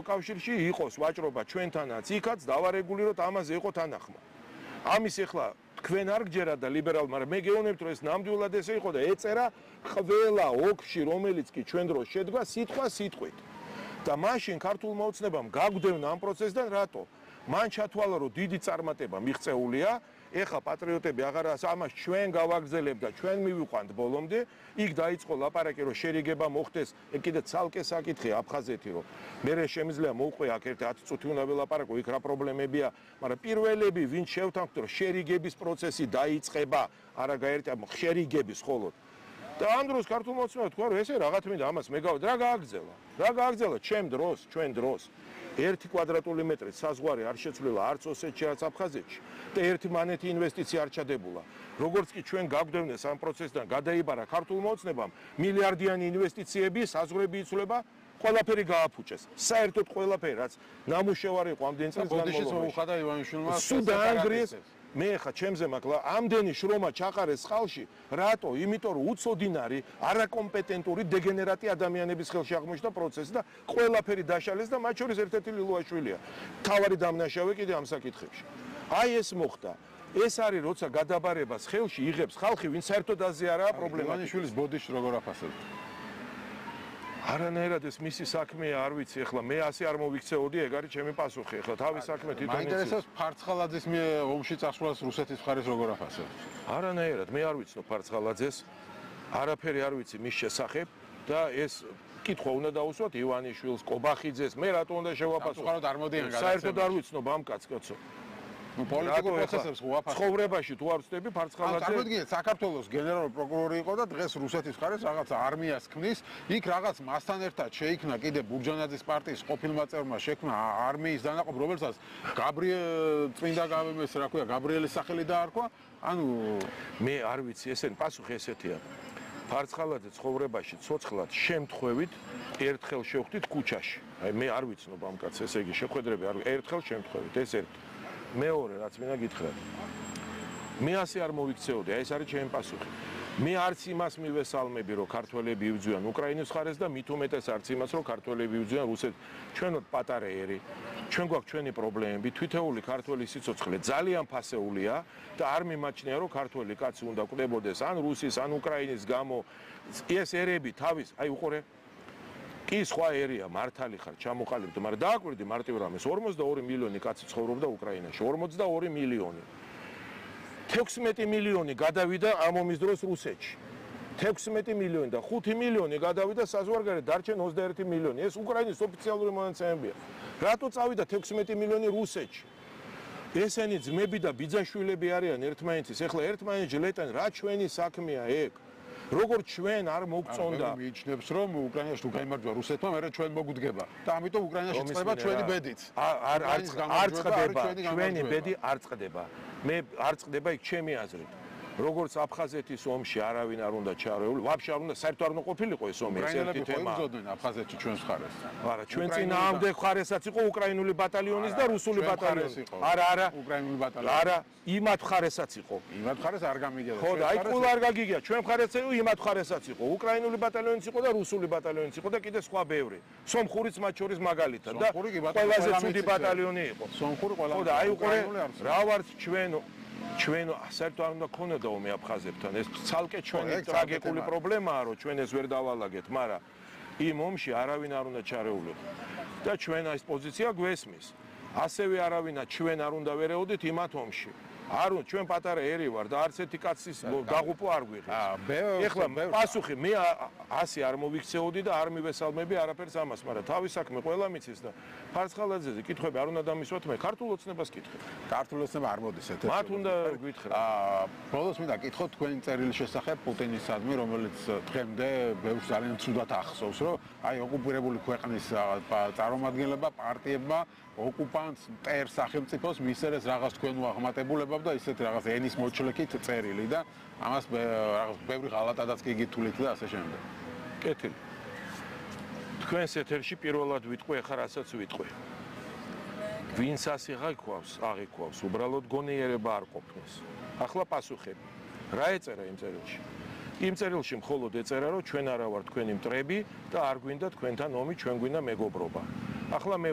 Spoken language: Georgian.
კავშირში იყოს ვაჭრობა ჩვენთანაც, იქაც დავარეგულიროთ, ამაზე იყო თანახმა. ამის ეხლა თქვენ არ გჯერათ და ლიბერალ, მაგრამ მე გეუბნებთ, რომ ეს ნამდვილად ესე იყო და ეწერა ყველა ოფში, რომელიც კი ჩვენ დროს შედგა, სიტყვა სიტყვით. და მაშინ ქართულმა ოცნებამ გაგვდევნა ამ პროცესიდან რატო? მან ჩათვალა, რომ დიდი წარმატება მიღწეულია, ეხლა პატრიოტები აღარ ამას ჩვენ გავაგრძელებთ და ჩვენ მივიყვანთ ბოლომდე, იქ დაიწყო ლაპარაკი, რომ შერიგება მოხდეს, კიდე ცალკე საკითხია აფხაზეთი, რომ მე შემიძლია მოვყვე აქ ერთი 10 წუთი უნდა ველაპარაკო, იქ რა პრობლემებია, მაგრამ პირველები ვინც შევთანხმდით, რომ შერიგების პროცესი დაიწყება, არა გაერთია შერიგების მხოლოდ. და ამ დროს ქართულმა ოცნებამ თქვა, რომ ესე რაღაც მინდა ამას მე გავ რა გააგრძელა? რა გააგრძელა ჩვენ დროს? 1 კვადრატული მეტრი საზღვარი არ შეცვლილა არც ოსეთში, არც აფხაზეთში და ერთი მანეთი ინვესტიცია არ ჩადებულა. როგორც კი ჩვენ გაგვდევნეს ამ პროცესიდან გადაიბარა ქართულმა ოცნებამ, მილიარდიანი ინვესტიციები, საზღვრები იცვლება, ყველაფერი გააფუჭეს. საერთოდ ყველაფერი, რაც ნამუშევარი იყო ამდენ წელს განმავლობაში. სულ დაანგრიეს. მე ხა ჩემზე მაქლა ამდენი შრომა ჩაყარეს ხალხში, რატო? იმიტომ რომ უცოდინარი, არაკომპეტენტური, დეგენერატი ადამიანების ხელში აღმოჩნდა პროცესი და ყველაფერი დაშალეს და მათ შორის ერთ-ერთი ლილუაშვილია. თავარი დამნაშავე კიდე ამ საკითხებში. აი ეს მოხდა. ეს არის როცა გადაბარებას ხელში იღებს ხალხი, ვინც საერთოდ აზე არაა პრობლემა. ივანიშვილის ბოდიში როგორ აფასებთ? არანაირად ეს მისი საქმეა, არ ვიცი, ეხლა მე ასე არ მოვიქცეოდი, ეგ არის ჩემი პასუხი, ეხლა თავის საქმე თვითონ იცის. მაინტერესებს ფარცხალაძის ომში წასვლას რუსეთის მხარეს როგორ აფასებთ? არანაირად, მე არ ვიცნობ ფარცხალაძეს, არაფერი არ ვიცი მის შესახებ და ეს კითხვა უნდა დაუსვათ ივანიშვილს, კობახიძეს, მე რატო უნდა შევაფასო? საერთოდ არ ვიცნობ ამ კაცს, კაცო. პოლიტიკურ პროცესებს უაფასებ. ცხოვრებაში თუ არ ვწდები ფარცხალაძე. წარმოგიდგენთ, საქართველოს გენერალური პროკურორი იყო და დღეს რუსეთის მხარეს რაღაც არმიას ქმნის, იქ რაღაც მასთან ერთად შეიქმნა კიდე ბურჯანაძის პარტიის ყოფილმა წევრმა შექმნა არმიის დანაყოფ, რომელსაც წმინდა რა ქვია, გაბრიელის სახელი დაარქვა. ანუ მე არ ვიცი, ესენი პასუხი ესეთია. ფარცხალაძე ცხოვრებაში ცოცხლად შემთხვევით ერთხელ შევხვდით ქუჩაში. აი მე არ ვიცნობ ამ კაცს, ესე იგი შეხვედრები არ ერთხელ შემთხვევით, ეს ერთი. მეორე რაც მინდა გითხრათ. მე ასე არ მოვიქცეოდი, აი ეს არის ჩემი პასუხი. მე არც იმას მივესალმები, რომ ქართველები იბრძვიან უკრაინის მხარეს და მით უმეტეს არც იმას, რომ ქართველები იბრძვიან რუსეთს. ჩვენ ვართ პატარა ერი, ჩვენ გვაქვს ჩვენი პრობლემები, თითოეული ქართველი სიცოცხლე ძალიან ფასეულია და არ მიმაჩნია, რომ ქართველი კაცი უნდა კვდებოდეს ან რუსის, ან უკრაინის გამო. ეს ერები თავის, აი უყურე კი სხვა ერია, მართალი ხარ, ჩამოყალიბდი, მაგრამ დააკვირდი მარტივ რამეს, 42 მილიონი კაცი ცხოვრობდა უკრაინაში, 42 მილიონი. 16 მილიონი გადავიდა ამ ომის დროს რუსეთში. 16 მილიონი და 5 მილიონი გადავიდა საზღვარგარეთ, დარჩენ 21 მილიონი. ეს უკრაინის ოფიციალური მონაცემებია. რატო წავიდა 16 მილიონი რუსეთში? ესენი ძმები და ბიძაშვილები არიან ერთმანეთის, ეხლა ერთმანეთს ლეტენ, რა ჩვენი საქმეა ეგ? როგორც ჩვენ არ მოგწონდა. მიიჩნევს რომ უკრაინაში თუ გაიმარჯვა რუსეთმა, მერე ჩვენ მოგვდგება. და ამიტომ უკრაინაში წდება ჩვენი ბედიც. არ წდება, ჩვენი ბედი არ წდება. მე არ წდება იქ ჩემი აზრით. როგორც აფხაზეთის ომში არავინ არ უნდა ჩარეულ, ვაფშე არ უნდა საერთოდ არ უნდა ყოფილიყო ეს ომი, ეს ერთი თემა. იბრძოდნენ აფხაზეთში ჩვენს მხარეს. არა, ჩვენ წინააღმდეგ მხარესაც იყო უკრაინული ბატალიონის და რუსული ბატალიონის. არა, უკრაინული ბატალიონი. არა, იმათ მხარესაც იყო. იმათ მხარეს არ გამიგია. ხო, და აი ყველა არ გაგიგია, ჩვენ მხარეც იყო, იმათ მხარესაც იყო. უკრაინული ბატალიონიც იყო და რუსული ბატალიონიც იყო და კიდე სხვა ბევრი. სომხურიც მათ შორის მაგალითად და ყველაზე ცუდი ბატალიონი იყო. სომხური ყველა. ხო, და აი უყურე, რა ვართ ჩვენ საერთოდ არ უნდა ქონოდა ომი აფხაზებთან. ეს ცალკე ჩვენი ტრაგიკული პრობლემაა, რომ ჩვენ ეს ვერ დავალაგეთ, მაგრამ იმ ომში არავინ არ უნდა ჩარეულიყო. და ჩვენ ეს პოზიცია გვესმის. ასევე არავინა ჩვენ არ უნდა ვერეოდით იმათ ომში. არ ჩვენ პატარა ერი ვარ და არც ერთი კაცის დაღუპვა არ გვიღებს. ეხლა პასუხი მე ასე არ მოვიქცეოდი და არ მივესალმები არაფერს ამას, მაგრამ თავის საქმე ყველა მიცის და ფარცხალაძეზე კითხვები არ უნდა დამისვათ მე ქართულ ოცნებას კითხე. ქართულ ოცნება არ მოდის ერთ-ერთი. მათ უნდა გითხრა. ბოლოს მინდა კითხოთ თქვენი წერილის შესახებ პუტინისადმი, რომელიც დღემდე ბევრს ძალიან ცუდად ახსოვს, რომ აი ოკუპირებული ქვეყნის წარმომადგენლებმა, პარტიებმა ოკუპანტს მტერ სახელმწიფოს მისცეს რაღაც თქვენ უაღმატებულებად და ისეთ რაღაც ენის მოჩლექით წერილი და ამას რაღაც ბევრი ღალატადაც კი გითვლით და ასე შემდეგ. კეთილი. თქვენს ეთერში პირველად ვიტყვი, ახლა რასაც ვიტყვი. ვინც ასე აღიქვავს, უბრალოდ გონიერება არ ყოფნის. ახლა პასუხები. რა ეწერა იმ წერილში? იმ წერილში მხოლოდ ეწერა, რომ ჩვენ არა ვართ თქვენი მტრები და არ გვინდა თქვენთან ომი, ჩვენ გვინდა მეგობრობა. ახლა მე